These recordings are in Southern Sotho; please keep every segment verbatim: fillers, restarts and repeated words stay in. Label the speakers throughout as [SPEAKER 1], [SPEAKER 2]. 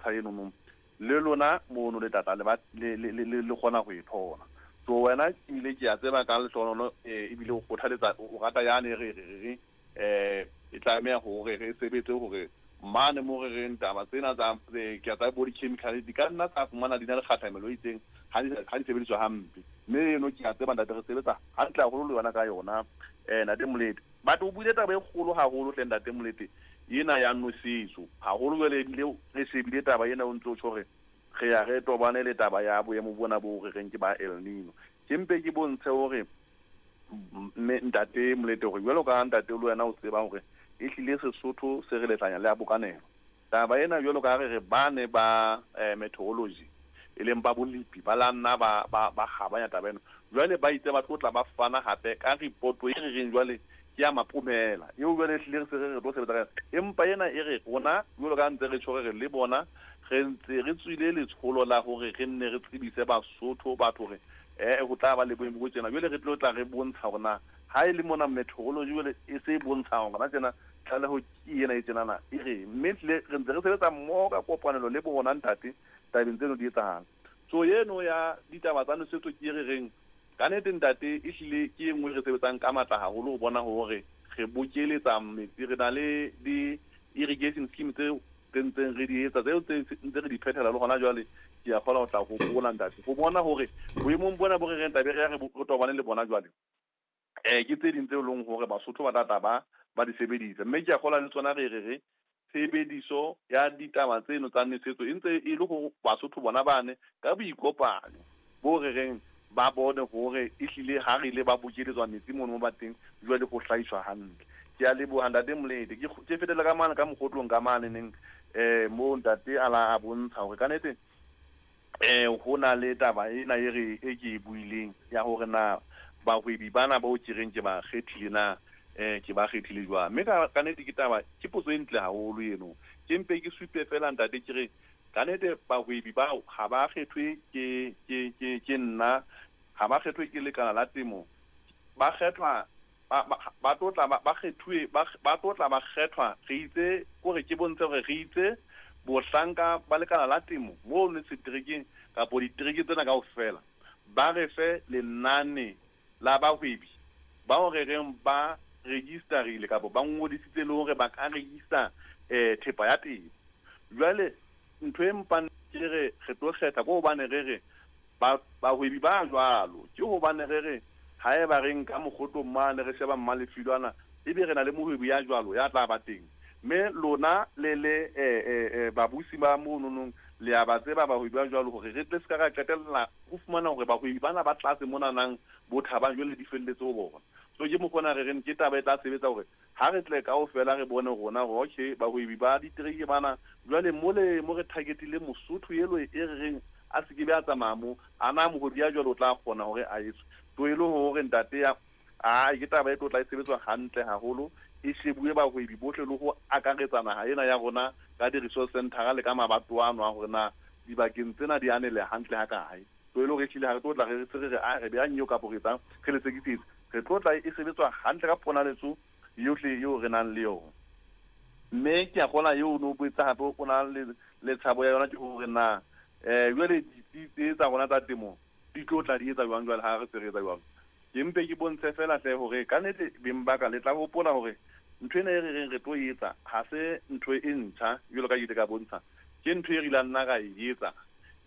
[SPEAKER 1] bontsha eno le lona mono le tata le ba le le le kgona go e thola. So wena ebile ke a tseba ka lehlohono ebile o kgothaletsa o rata yane re re re eh e tlameha hore re sebetse hore mane mo re reng taba tsena tsa ke a tsa bo di-chemical di ka nna tsa fumana di na le kgahlamelo e itseng ha di ha di sebediswa hampe. Mme eno ke a tseba ntate re sebetsa hantle haholo le yona ka yona eh ntate Molete. But o buile taba e kgolo haholo hle ntate Molete ena ya nosetso haholo jwale ebile re shebile taba ena o ntso tjho hore re ya re tobane le taba ya boemo bona bo re reng ke ba El Nino. Ke mpe ke bontshe hore mme ntate Molete hore jwalo ka ntate le wena o tseba hore e hlile Sesotho se re letlanya le a bokanelo. Taba ena jwalo ka re re bane ba eh, meteorology e leng ba bolipi ba la nna ba ba ba kgabanya taba ena. Jwale ba itse ba tlo tla ba fana hape ka report e re reng jwale ke ya mapomela eo jwale hlile re se re re tlo sebetsa ka yona. Empa ena e re rona jwalo ka ntse re tjho re le bona re ntse re tswile letsholo la hore re nne re tsebise Basotho batho hore eh ho tla ba le boemo bo tjena. Jwale re tlo tla re bontsha hore na ha e le mona meteorology jwale e se e bontsha hore na tjena tlaleho ke ena e tjenana e re mme hlile re ntse re sebetsa mmoho ka kopanelo le bona ntate tabeng tseno di etsahala. So eno ya ditaba tsa nosetso ke e re reng ka nnete ntate e hlile ke e nngwe re sebetsang ka matla haholo ho bona hore re bokeletsa metsi. Re na le di-irrigation scheme tse re ntseng re di etsa tseo tse ntse re di phethela le hona jwale. Ke a kgona ho tla hopola ntate ho bona hore boemong bona bo re reng tlabe re ya re tobane le bona jwale eh ke tse ding tse leng hore Basotho ba tla ba ba di sebedisa. Mme ke a kgolwa le tsona re re re tshebediso ya ditaba tseno tsa nosetso e ntse e le ho Basotho bona bane ka boikopanyo bo re reng ba bone hore e hlile ha re ile ba bokeletswa metsi mono mo ba teng jwale ho hlahiswa hantle. Ke a leboha ntate Molete. Ke ke fetela ka mane ka mokgotlong ka mane neng eh mo ntate a la a bontsha hore ka nnete eh ho na le taba ena e re e ke e buileng ya hore na bahwebi bana bao ke reng ke ba kgethile na eh ke ba kgethile jwang. Mme ka ka nnete ke taba ke potso e ntle haholo eno. Ke mpe ke supe fela ntate ke re ka nnete bahwebi bao ha ba kgethwe ke ke ke ke nna, ha ba kgethwe ke lekala la temo, ba kgethwa ba ba tlo tla ba kgethuwe ba ba tlo tla ba kgethwa. Re itse kore ke bontshe hore re itse bohlanka ba lekala la temo mo le seterekeng kapo ditereke tsena kaofela ba re fe lenane la bahwebi bao re reng ba registerile kapo ba ngodisitse le hore ba ka register eh thepa ya temo. Jwale ntho e mpang ke re re tlo kgetha ko hobane re re ba bahwebi ba jwalo ke hobane re re haeba re nka mokgotlong mane re sheba mmalefilwana ebe re na le mohwebi ya jwalo ya tla ba teng. Mme lona le le eh eh babusi ba mono le a ba tseba bahwebi ba jwalo hore re tle se ka ra qetella ho fumana hore bahwebi bana ba tlase mona nang bo thabang jwale di felletse ho bona. So ke mokgona re reng ke taba e tla sebetsa hore ha re tle kaofela re bone rona hore okay bahwebi ba ditereke bana jwale mole mo re targetile Mosotho elo e re reng a se ke be a tsamaya mo ana mohwebi ya jwalo o tla kgona hore a etswe. To e le hore ntate ya a ke taba e tlo tla e sebetswa hantle haholo e shebuwe bahwebi bohle le ho akaretsa naha ena ya rona ka di-resource center le ka mabato ano a hore na dibakeng tsena di anele hantle ha kae. To e le hore ehlile ha re tlo tla re se re re a re beang eo kapo re etsang re le sekisetse re tlo tla e sebetswa hantle ka ponaletso yohle eo re nang le yona. Mme ke a kgolwa eo o no botsa hape o na le le tshabo ya yona ke hore na eh jwale ditsi tse tsa rona tsa temo di tlo tla di etsa jwang jwale ha re se re etsa jwalo. Ke mpe ke bontshe fela hle hore ka nnete beng ba ka le tla hopola hore ntho ena e re reng re tlo etsa ha se ntho e ntjha jwalo ka ke ile ka bontsha ke ntho e re ilang nna ra e etsa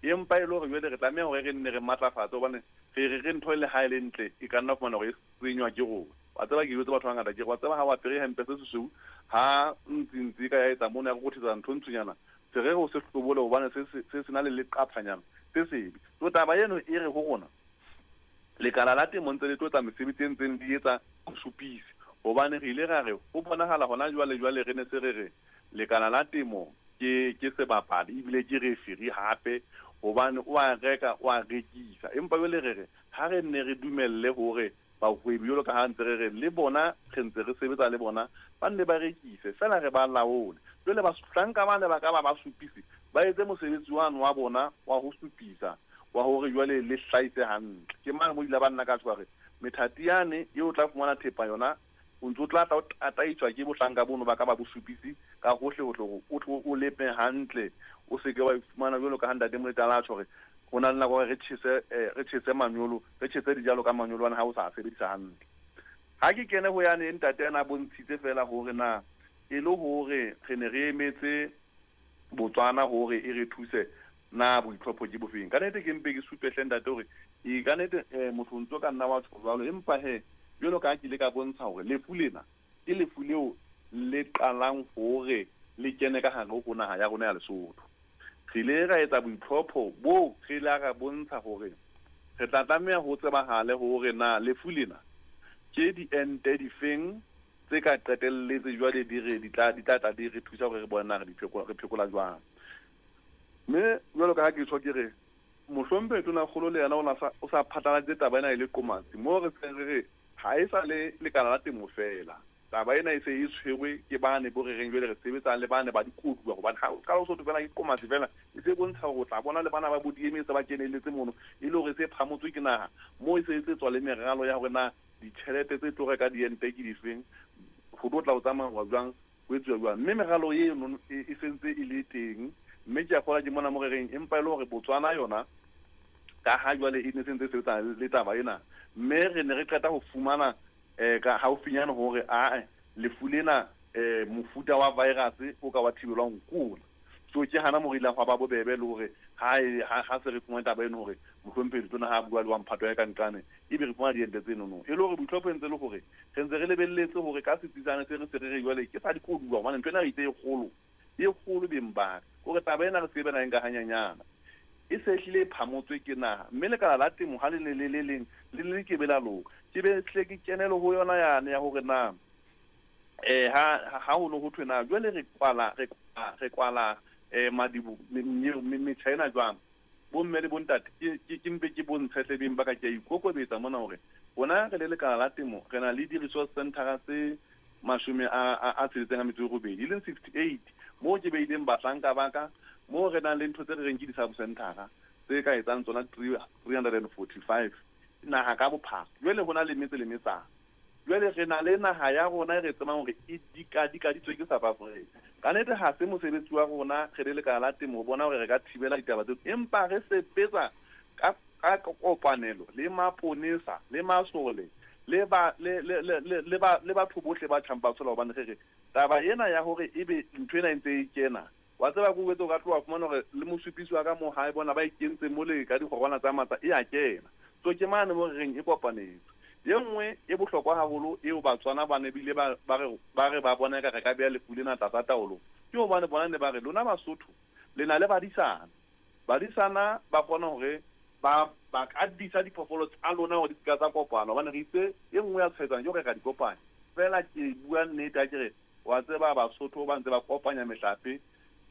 [SPEAKER 1] empa e le hore jwale re tlameha hore re nne re matlafatse hobane re re re ntho e le ha e le ntle e ka nna fumana hore e senywa ke rona. Wa tseba ke jwetse batho ba bangata ke re wa tseba ha o apere hempe se sesweu ha ntsintsi ka ya etsa mona ya go rothetsa ntho ntshonyana se re ho se hlobole hobane se se se na le leqaphanyana se sebe. So taba eno e re ho rona lekala la temo ntse le tlo etsa mesebetsi e ntseng di etsa ho supise hobane re ile ra re ho bonahala hona jwale jwale re ne se re re lekala la temo ke ke sebapadi ebile ke referee hape hobane o a reka o a rekisa. Empa jwale re re ha re nne re dumelle hore bahwebi jwalo ka ha ntse re re le bona re ntse re sebetsa le bona ba nne ba rekise fela re ba laole. Jwale bahlanka bane ba ka ba ba supise ba etse mosebetsi wano wa bona wa ho supisa wa hore jwale le hlahise hantle. Ke mang mo ile ba nna ka tshware methati yane eo tla fumana thepa yona O ntso tla tla o tataiswa ke bohlanka bono ba ka ba bosupisi ka hohle hohle hore o tlo o lepe hantle, o se ke wa ifumana jwalo ka ha ntate Moletala a tjho hore ho na le nako re tjhese re tjhese manyolo, re tjhese dijalo ka manyolo ana ha o sa sebedisa hantle. Ha ke kene ho yane ntate ana bontshitse fela hore na e le hore re ne re emetse Botswana hore e re thuse na boitlhopho ke bofeng. Ka nnete ke mpe ke supe hle ntate hore e ka nnete motho ntso ka nna wa tjho jwalo, empa he jwalo ka ha ke ile ka bontsha hore lefu lena ke lefu leo le qalang hore le kene ka hare ho naha ya rona ya Lesotho. Re ile ra etsa boitlhopho bo re la ra bontsha hore re tla tlameha ho tsebahale hore na lefu lena ke diente difeng tse ka qetelletse jwale di re di tla di tla tla di re thusa hore re bone na re di phekola re phekola jwang. Mme jwalo ka ha ke tjho ke re mohlomphehi Tonakgolo le yena o na sa o sa phatlaladitse taba ena e le qomatsi moo re seng re re ha e sa le lekala la temo fela. Taba ena e se e tshwerwe ke bane bo re reng jwale re sebetsa le bane ba dikoduwa, hobane ha o qala o so fela ke qomatsi fela e se bontsha hore o tla bona le bana ba bo D M A se ba kenelletse mono e le hore se phamotswe ke naha moo e se etsetswa le meralo ya hore na ditjhelete tse tlo reka diente ke difeng, ho tlo tla o tsamaya jwang, ho etsuwa jwang. Mme meralo eno e sentse e le teng, mme ke a kgolwa ke mona mo re reng empa e le hore Botswana yona ka ha jwale e ne sentse e sebetsa le taba ena, mme re ne re qeta ho fumana eh ka haufinyane hore a lefu lena eh mofuta wa virus o ka wa thibelwang kona. So ke hana mo re ileng hwa ba bobebe le hore ha ha se re fumana taba eno hore mohlomphehi Tona ha bua le wa mphato ya ka nqane ebe re fumana diente tseno no. E le hore boitlhopho ntse le hore re ntse re lebelletse hore ka setsitsane se re se re re jwale ke sa dikoduwa, hobane ntho ena re itse e kgolo e kgolo beng ba hore taba ena re se be na nka hanyanyana e se hlile e phamotswe ke naha. Mme lekala la temo ha le le le le leng le le ke be la loka, ke be hle ke kenelo ho yona yane ya hore na eh ha ha ho no ho thwe na jwale re kwala re re kwala eh madibo metjha ena jwang. Bomme le bontate ke ke mpe ke bontshe hle beng ba ka ke a ikokobetsa mona hore rona re le lekala la temo re na le di-resource center tse mashome a a tsheletseng a metso e robedi, e leng sixty-eight moo ke beileng bahlanka ba ka, moo re nang le ntho tse re reng ke di-sub center tse ka etsang tsona three hundred and forty-five naha ka bophara. Jwale ho na le metse le metsana, jwale re na le naha ya rona e re tsebang hore e dikadikaditswe ke South Africa. Ka nnete ha se mosebetsi wa rona re le lekala la temo ho bona hore re ka thibela ditaba tseo, empa re sebetsa ka ka kopanelo le maponesa le masole le ba le le le le ba le batho bohle ba tjhang ba tshola, hobane re re taba ena ya hore ebe ntho ena e ntse e kena wa tseba ko wetse o ka tloha fumana hore le mosupisi wa ka mo hae bona ba ikentse mole ka dikgorwana tsa matsa e a kena. So ke mane mo re reng e kopanetse. E nngwe e bohlokwa haholo eo Batswana ba ne bile ba ba re ba re ba bona ka re ka beha lefu lena tlasa taolo ke hobane bona ne ba re lona Basotho le na le badisana, badisana ba kgona hore ba ba ka disa diphoofolo tsa lona hore di se ka tsa kopana, hobane re itse e nngwe ya tshwaetsang ke hore re ka di kopanya fela. Ke bua nnete ha ke re wa tseba Basotho ba ntse ba kopanya mehlape,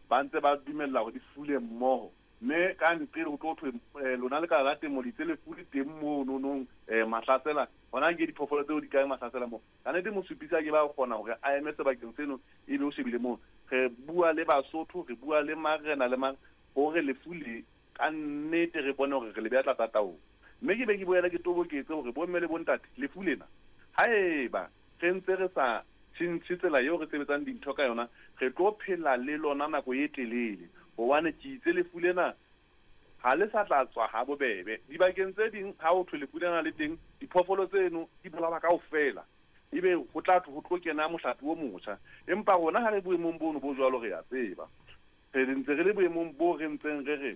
[SPEAKER 1] ba ntse ba dumella hore di fule mmoho, mme ka nqele ho tlo thwe lona lekala la temo le itse lefu le teng mono nong mahlasela hona ke diphoofolo tseo di kae mahlasela moo. Ka nnete mosupisi a ke ba kgona hore a eme sebakeng seno ebe o shebile moo. Re bua le Basotho, re bua le marena le mang hore lefu le ka nnete re bone hore re le beha tlasa taolo. Mme ke be ke boela ke toboketse hore bomme le bontate lefu lena haeba re ntse re sa tjhentjhe tsela eo re sebetsang dintho ka yona, re tlo phela le lona nako e telele, hobane ke itse lefu lena ha le sa tla tswa ha bobebe. Dibakeng tse ding ha ho thwe lefu lena le teng, diphoofolo tseno di bolawa kaofela, ebe ho tla ho tlo kena mohlape o motjha. Empa rona ha re boemong bono bo jwalo re a tseba, re ntse re le boemong bo re ntseng re re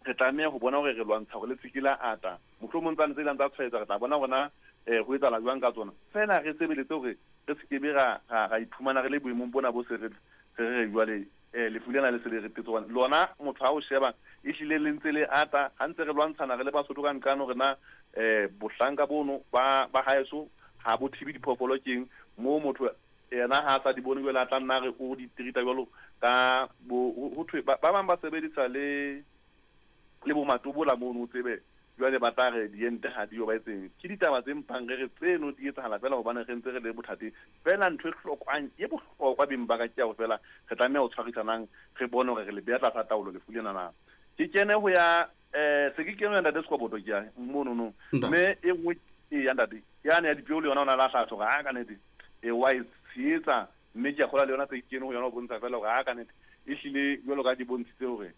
[SPEAKER 1] re tlameha ho bona hore re lwantsha hore le se ke la ata, mohlomong tsane tse ileng tsa tshwaetsa re tla bona hore eh ho etsahala jwang ka tsona. Feela re sebeletse hore re se ke be ra ra iphumana re le boemong bona bo se re re re jwale eh lefu lena le se le re tetse, hobane lona motho ha o sheba e hlile le ntse le ata ha ntse re lwantshana re le Basotho ka nqane hore na eh bohlanka bono ba ba haeso ha bo thibe diphoofolo keng moo motho yena ha sa di bone jwale a tla nna re o di treat-a jwalo ka bo ho thwe ba bang ba sebedisa le le bo matobola mono o tsebe jwale ba tla re diente ha di yo ba etseng. Ke ditaba tse mpang re re tseno di etsahala fela hobane re ntse re le bothateng fela. Ntho e hlokwang e bohlokwa beng ba ka ke ya ho fela re tlameha ho tshwarisanang re bone hore re le beha tlasa taolo lefu lena na. Ke kene ho ya eh se ke kene ho ya ntate Sekoboto ke ya mono no, mme e nngwe e ya ntate yane ya dipeo le yona o na lahla hore ha ka nnete E wa e tshehetsa, mme ke a kgolwa le yona tse kene ho yona ho bontsha fela hore ha ka nnete ehlile jwalo ka di bontshitse hore